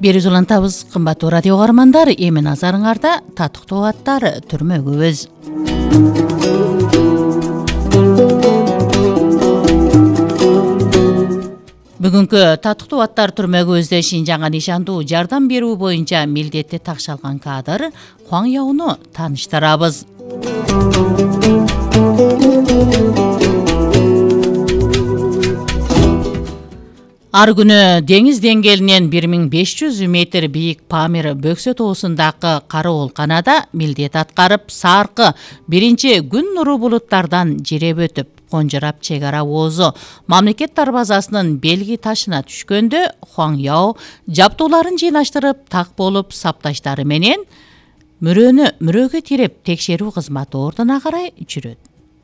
Бериз улантабыз, кымбаттуу радио каармандар, эми назарыңарда татыктуу аттар түрмөгүбүз. Бүгүнкү татыктуу аттар түрмөгүбүздө Шинжаңга нишандуу жардам берүү боюнча милдетти такшалган кадыр Хуаң Яону тааныштырабыз. Ар күнү деңиз деңгээлинен 1500 метр бийик Памир Бөксө тоосундагы кара оолканада милдет аткарып, саркы биринчи күн нуру булуттардан жиреп өтүп, конжурап чек ара оозу мамлекет дарбазасынын белги ташына түшкөндө Хуаң Яо жаптууларын жыйнаштырып так болуп сапташтары менен мөрөгө тиреп текшерүү кызматы ордуна карай жүрөт.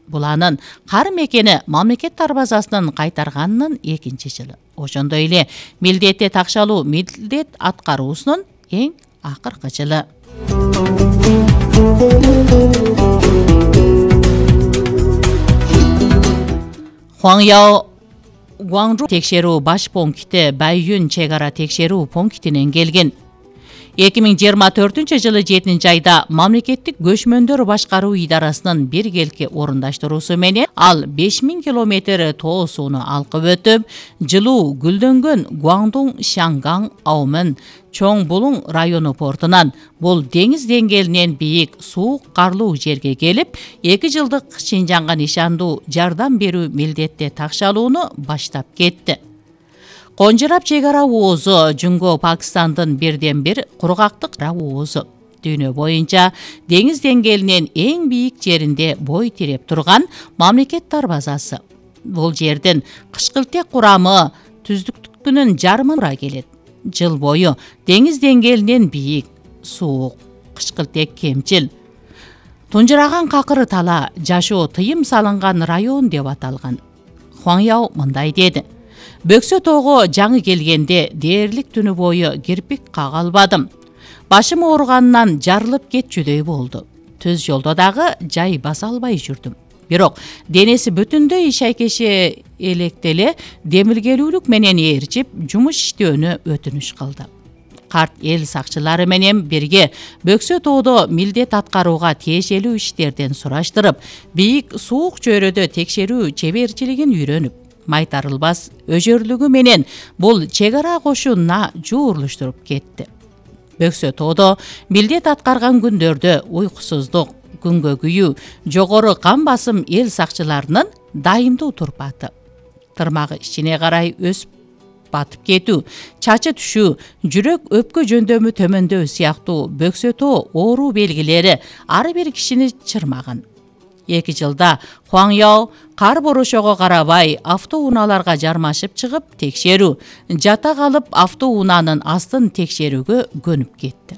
Бул анын кар мекени мамлекет дарбазасынын кайтарганынын 2-чи жылы. Ошондой эле милдетти такшалуу милдет аткаруусунун эң акыркы жылы. Хуаң Яо Гуаңжу текшерүү баш пункти Байюн чек ара текшерүү пунктинен келген. 2024 жылы 7 айда мамлекеттик көчмөндөр башкаруу идарасынын биргелки орундаштыруусу менен ал 5000 километр тоо сууну алкып өтүп, жылуу гүлдөнгөн Гуаңдун Шаңгаң Аумын Чоң Булуң району портунан бул деңиз деңгээлинен бийик суук карлуу жерге келип, 2 жылдык Шинжаңга нишандуу жардам берүү милдетти такшалууну баштап кетти. Конжурап чек ара оозу Жүнгө Пакистандын бирден бир кургактык оозу. Дүйнө боюнча деңиз деңгээлинен эң бийик жеринде бой тиреп турган мамлекет дарбазасы. Бул жердин кышкылтек курамы түздүктүкүнүн жарымына келет. Жыл бою деңиз деңгээлинен бийик, суук, кышкылтек кемчил, тунжураган какыры тала, жашоо тыйым салынган район деп аталган. Хуаң Яо мындай деди: Бөксө тоого жаңы келгенде дээрлик түнү бою кирпик кага албадым. Башым ооруганынан жарылып кетчүдөй болду. Түз жолдо дагы жай баса албай жүрдүм. Бирок денеси бүтүндөй шайкеше электеле демилгелүүлүк менен ээрчип, жумуш иштөөнү өтүнүш кылды. Карт эл сакчылары менен бирге Бөксө тоодо милдет аткарууга тиешелүү иштерден сураштырып, бийик суук чөйрөдө текшерүү чеберчилигин үйрөнүп, майтарылбас өжөрлүгү менен бул чек ара кошунуна жуурлуштуруп кетти. Бөксө тоодо милдет аткарган күндөрдө уйкусуздук, күнгө күйүү, жогору кан басым эл сакчыларынын дайымдуу турпаты. Тырмагы ичине карай өсүп батып кетүү, чачы түшүү, жүрөк өпкө жөндөмү төмөндөү сыяктуу бөксө тоо оору белгилери ар бир кишини чырмаган. 2 жылда Хуаң Яо кар борошого карабай автоунааларга жармашып чыгып текшерүү, жата калып автоунаанын астын текшерүүгө көнүп кетти.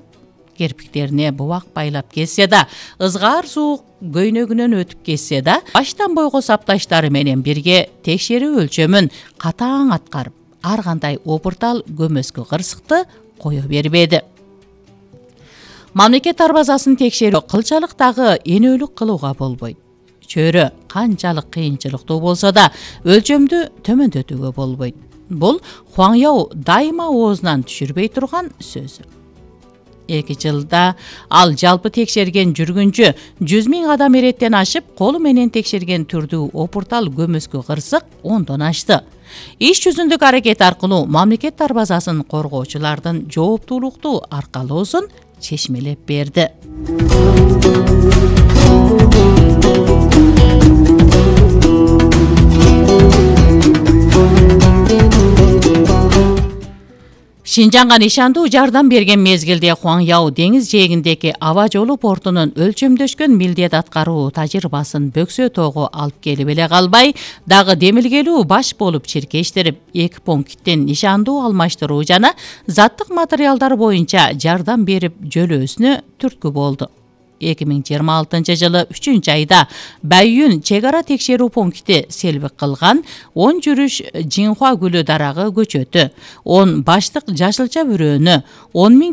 Керпиктерине бубак байлап кетсе да, ызгаар суук көйнөгүнөн өтүп кетсе да, баштан бойго сапташтары менен бирге текшерүү өлчөмүн катаң аткарып, ар кандай опуртал көмөскө кырсыкты кое бербеди. Мамлекет дарбазасын текшерүү кылчалык дагы энөлүк кылууга болбойт. Чөйрө канчалык кыйынчылыктуу болсо да, өлчөмдү төмөндөтүүгө болбойт. Бул Хуаң Яо дайыма оозунан түшүрбөй турган сөзү. 2 жылда ал жалпы текшерген жүргүнчү 100 000 адам эреттен ашып, колу менен текшерген түрдүү опуртал көмөскө кырсык 10дон ашты. Иш жүзүндүк аракет аркылуу мамлекет дарбазасын коргоочулардын жооптуулуктуу аркалоосун чечмелеп берди. Шинжаңга нишандуу жардам берген мезгилде Хуаң Яо деңиз жээгиндеги аба жолу портунун өлчөмдөшкөн милдет аткаруу тажрыйбасын Бөксө тоого алып келип эле калбай, дагы демилгелүү баш болуп чиркештирип, 2 пункттин нишандуу алмаштыруу жана заттык материалдар боюнча жардам берип жөлөөсүнө түрткү болду. 2026 жылы 3 айда Байюн чек ара текшерүү пункти селбик кылган 10 жүрүш Жинхуа гүлү дарагы көчөтү, 10 баштык жашылча бүрөөнү, 10 000